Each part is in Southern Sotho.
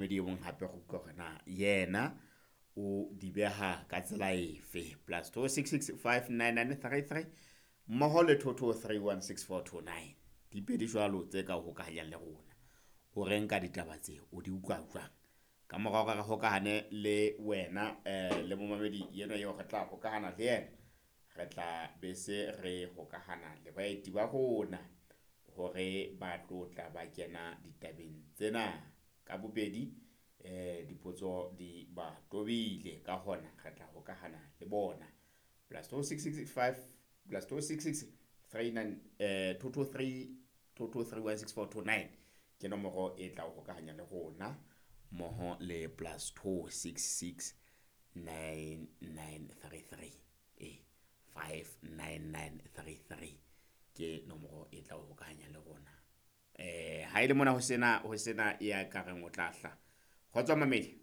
Momamedi e mong hape go utlwa hore na yena o di beha ka tsela efe. Plus 266 599 33 mmoho le 22316429. Di pedi jwalo tse ka o hokahanyang le rona. O reng ka ditaba tse, o di utlwa jwang? Ka mora hore re hokahane le wena le momamedi enwa eo re tla hokahana le yena, re tla be se re hokahana le baeti ba rona hore ba tlo tla ba kena ditabeng tsena ka bobedi. Dipotso di ba tobile, ka hona re tla hokahana le bona. +266 5 +266 39 223 22316429 ke nomoro e tla o hokahanya le rona, mmoho le +266 9933 59933 ke nomoro e tla o hokahanya le rona. Ha ile mona ho sena ya ka reng o tla hla. Kgotso mamedi.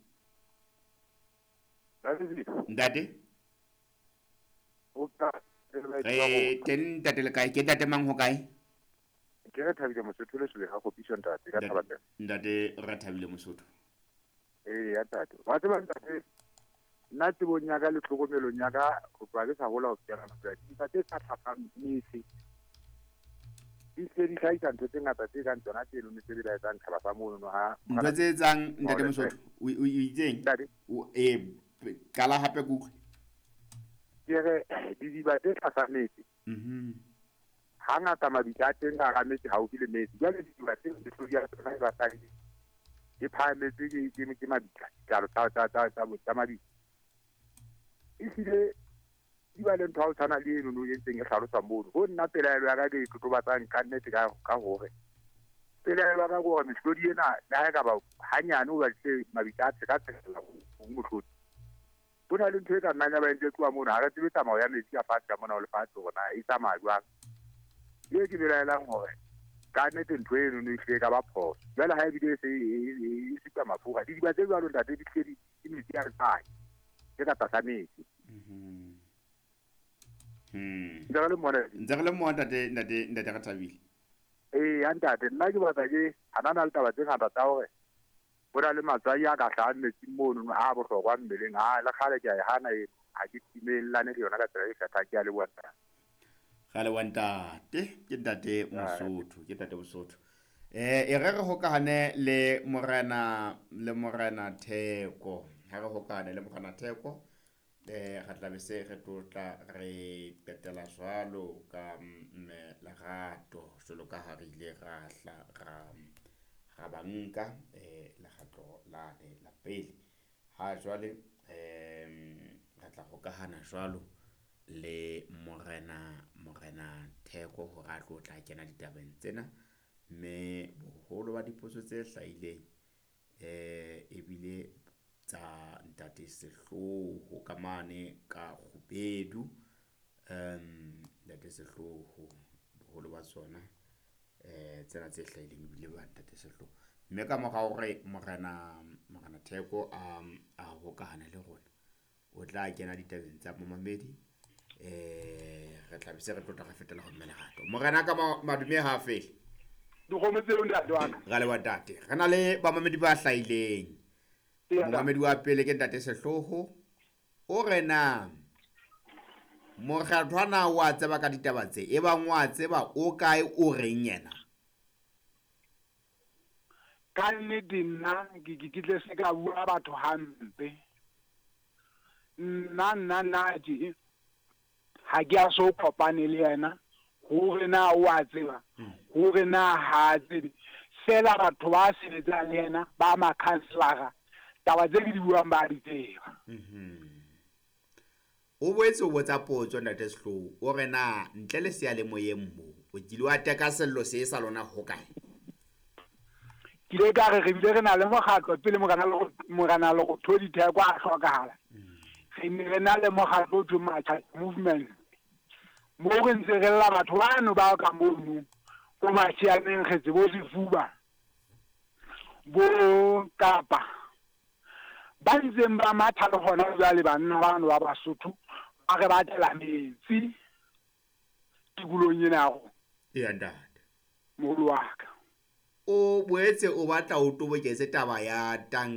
Ntate. Re teng, ntate, le kae? Ke ntate mang, ho kae? Ke re Thabile Mosotho le Sebe ga gopiso, ntate, ka Thabapela. Ntate re Thabile Mosotho. Ee ya ntate, wa tseba ntate, nna tsebong ya ka le tlhokomelong ya ka ho tloha ke sa hola ho fihlela nako ya dintlha tse sa tlhasang metse di se di hlahisa ntho tse ngata tse kang tsona tseno tse belaetsang tjhaba sa monono ha Ntho tse etsang, ntate Mosotho, o itseng? Ntate. Qala hape ke utlwe. Ke re didiba tse tlasa metse, hangata mabitla a teng ka hara metse, haufi le metsi. Jwale didiba tseo, mehlodi ya tsona e batlang e phahametse ke mabitla, ditlalo tsa mabitla. Ehlile di ba le ntho ya ho tshwana le eno no e ntseng e hlalosa mono. Ho nna pelaelo ya ka ke e totobatsang ka nnete ka hore pelaelo ya ka ke hore mehlodi ena, le ha e ka ba hanyane o batlile mabitla a tsheka tshekela ho mohlodi, ho na le ntho e ka nnang ya ba entse tloha mono. Ha re tsebe tsamao ya metsi a fatshe ka mona ho lefatshe hore na e tsamaya jwang. E ke belaelang hore ka nnete ntho eno no ehlile e ka ba phoso. Jwale ha ebile e se e supa mafura, didiba tse jwalo, ntate, di hlile ke metsi a letswai tse ka tlasa metsi. Ntse re le mona. Ntse re le mo, ntate re Thabile. Ee ya ntate, nna ke batla ke hanana le taba tse ngata tsa hore ho na le matswai a ka hlahang metsing mono a bohlokwa mmeleng. A le kgale ke a e hana eno, ha ke timellane le yona ka tsela e kgethang. Ke a leboha, ntate. Ga leboha ntate, ke ntate Mosotho, ke ntate Mosotho. E re re hokahane le morena Theko. Ha re hokahane le morena Theko, re tla be se re tlotla re qetela jwalo ka mme Lerato, jwalo ka ha re ile ra hla ra ba nka lekgetlo lane la pele. Ha jwale re tla hokahana jwalo le morena Theko hore a tlo tla kena ditabeng tsena, mme boholo ba dipotso tse hlahileng ebile tsa ntate Sehloho ka mane ka Kgubedu. Ntate Sehloho, boholo ba tsona tsena tse hlahileng ebile ba ntate Sehloho, mme ka mora hore morena Theko a hokahane le rona, o tla kena ditabeng tsa momamedi. Re tla be se re tlotla re fetela ho mme Lerato. Morena ka madume ha fele. Dikgomo tseo, ntate wa ka. Ra leboha, ntate. Re na le bamamedi ba hlahileng. Momamedi wa pele ke ntate Sehloho, o re na mokgathwana wa tseba ka ditaba tse, e bang wa tseba, o kae, o reng yena? Ka nnete nna ke tle se ka bua batho hampe. Nna tje ha ke a so kopane le yena hore na o a tseba, hore na ha a tsebe. Fela batho ba sebetsang le yena ba makhanselara, taba tse ke di buang ba di tseba. O boetse o botsa potso ntate Sehloho, o re na ntle le seyalemoyeng mo o kile wa teka sello se sa lona ho kae? Ke ile ka re re bile re na le mokgatlo pele morena Lerothodi Theko a hlokahala. Re ne re na le mokgatlo o thweng Matjha Movement, mo re ntse re lla batho bano ba ka mono ko Mashianeng, kgetse bo sefuba bo kapa ba ntseng ba matha le hona jwale. Banna bano ba Basotho ba re batlela metsi tikolong ena ya rona. Eya ntate. Moholo wa ka. O boetse o batla o toboketse taba ya